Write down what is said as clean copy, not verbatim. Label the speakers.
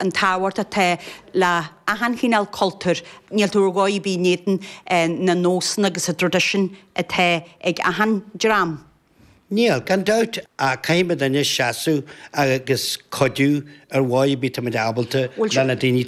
Speaker 1: An tábhacht atá le achan chineál cultúir, níl tú ar dhóigh ar bith in éadan na nósanna agus an traidisiúin atá ag achan dream.
Speaker 2: Níl, gan dabht, ach caithfidh muid anois seasamh agus cuidiú ar mhodh ar bith táimid ábalta le na daoine.